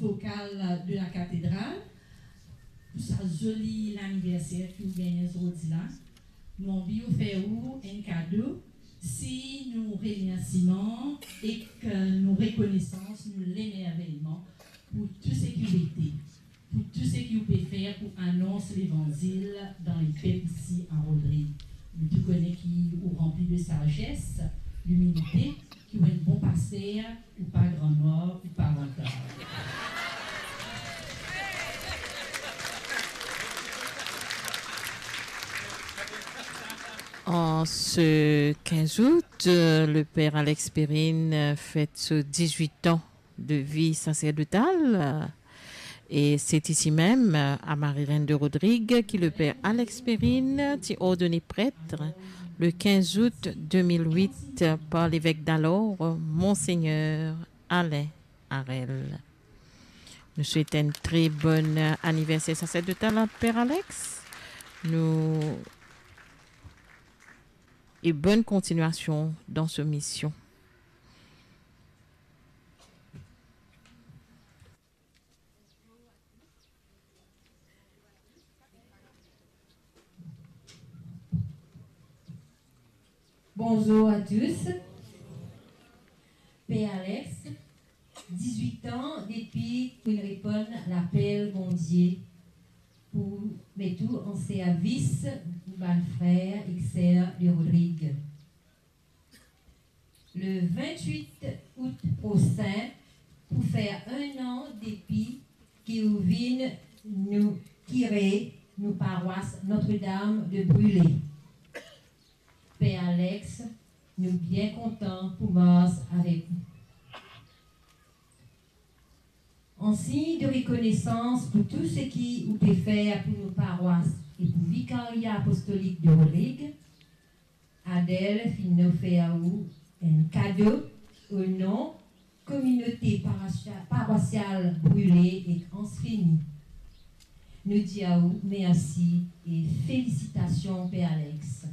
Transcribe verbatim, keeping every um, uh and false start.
Lokal de la katedral, pou sa zoli laniverser ki ou gagne zordi la. Nou anvi ofer ou enn kado, sign nou remersiman ek nou rekonesans, nou lemerveyman pou tou seki ou ete, pou tou seki ou pe fer pou anons levanzil dan lepep isi a Rodrig. Nou tou kone ki ou ranpli de sazes, limilite, ki ou enn bon paster, ou pa gran nwar, ou pa vantar. En ce quinze août, euh, le père Alex Perrine, euh, fête ses dix-huit ans de vie sacerdotale. Euh, et c'est ici même, euh, à Marie-Reine de Rodrigue, que le père Alex Perrine ti ordonné prêtre le quinze août deux mille huit par l'évêque d'alors, Monseigneur Alain Harel. Nou swet enn tre bon, euh, aniverser saserdotal a Père Alex. Nou, et bonne continuation dans ce mission. Bonzour a tous. Père Alex, dix-huit an depi ki ou reponn lapel Bondie pou met ou an servis bann frer ek ser de Rodrig. Le vingt-huit août prosin pou fer enn an depi ki ou vinn nou kire nou parwas Notre-Dame de Brûlé. Père Alex, nou bien kontan pou mars avek ou. An sign de rekonesans pou tou seki ou pe fer pou nou parwas e pou Vikaria Apostolik de Rodrig, Adel finn ofer ou enn kado o non kominote parwasia-, parwasial Brûlé ek Anse Fini. Nou dir ou mersi e felisitasion, Père Alex.